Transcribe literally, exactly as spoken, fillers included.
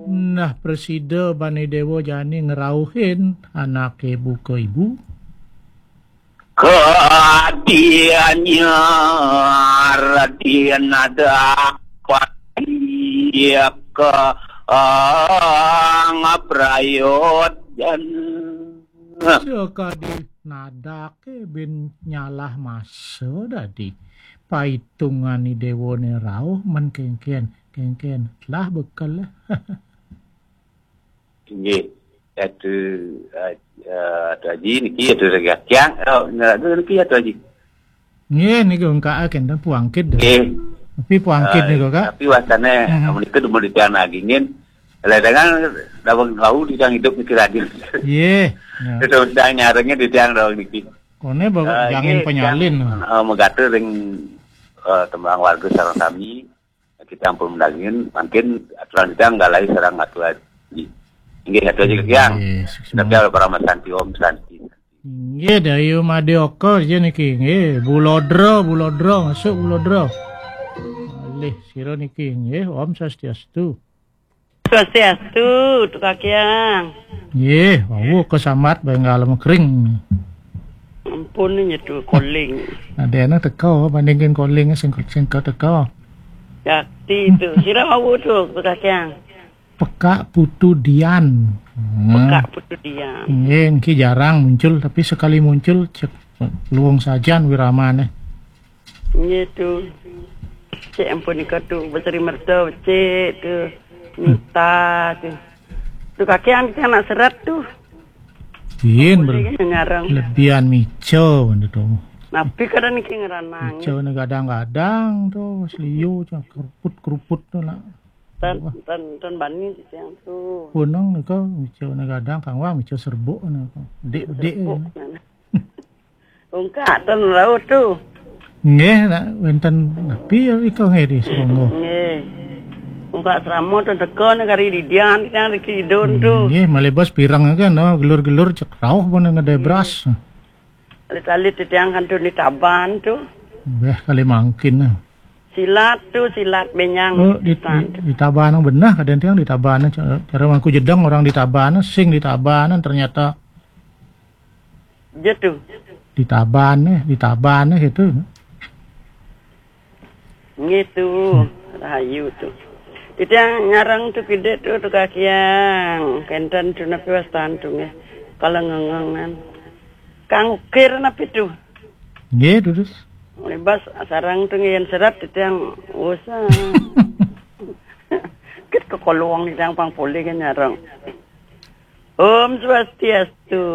Nah, prasida bani déwa jani ngrauhin anaké buka ibu. Kadianya radin ada pati ka, ah, ngaprayojan. Sakadi nadaké bin nyalah masa dadi. Paitungan i déwané rauh men kénkén, kénkén. Lah bekel lah. Inggih. Atu, eh, eh, Atu Haji niki atu regakiang. Oh, niki Atu Haji. Nggih, niku engka kénten puangkit. Nggih. Tapi puangkit Eh, niku, Kak. Tapi wastane Mhm. Menika demen titiang nagingin. Ledangan daweg wau titiang hidup niki rajin. Nggih. Ya. Terus sedang nyarengnya titiang daweg niki. Kone bawa Eh, jangin nggih, penyalin. Titiang, eh, megate ring, eh, tembang warga sareng sami. Kita ampun mendagingin, mangkin aturan kita nggalahi sareng Atu Haji. Inggih, Atu Haji Kekiang. Nggih, suksma. Tapi para masanti, Om Santi. Nggih, Dayu Madé Oka aja niki. Nggih, Bulodra, Bulodra, masuk Bulodra. Alih sira niki, nggih, Om Swastiastu. Swastiastu, Atu Kakiang. Nggih, wau kesamat bae ngalem kering. Ampun nyetu calling. Ada anak teko bandingin calling sing sing teko. Yakti tu. Sira wau tu, Atu Kakiang. Pekak Putu Dian. Hmm. Pekak Putu Dian. Nggih, niki jarang muncul, tapi sekali muncul cek luwung sajan wiramane. Nggih tu. Cek ampun nika tu, Besari Merta, cek tu. Mita tu. Tu Kakiang, Kakiang nak serat tu. Yin, boleh ber- kan nyarang. Lebihan mico benda tu. Napi kadang niki ngeranang. Mico ni gadang-gadang tu, seliu tu, keruput-keruput tu nak. Tan, tan, tan bani siang tu. Punang ni kau, mico ni gadang, kang wang, mico serbuk ni kau. Dek, dek. Serbuk ni. Ungkak tan rauh tu. Nggih, nak wenten napi ya iko nggih di Seronggo. Nggih. Ungkak seramo tu teko ni kari didian, didian di kidun tu. Nggih, malebas pirang kan, oh, gelur-gelur cek rauh pun ngedai beras. Alit-alit titiang kan tu di Taban tu. Beh, kali mangkin. Silat tu, silat benyang. Oh, di, di, di Taban yang benar, kadang tiang di Taban, cara, cara mangku jedang orang di Taban, sing di Taban, ternyata. Je tu. Di Taban, eh, di Taban, eh, gitu. Ngitu, rahayu tu. Titiang nyarang tu kidik tu, tu Kakiang. Kenten tu napi wastan tu nggih. Kalau ngengengan. Kang ukir napi tu? Nggih, terus. Libas sarang tu nggih yen serat titiang usah. Kit ke kolong titiang pang pulih kan nyarang. Om Swastiastu.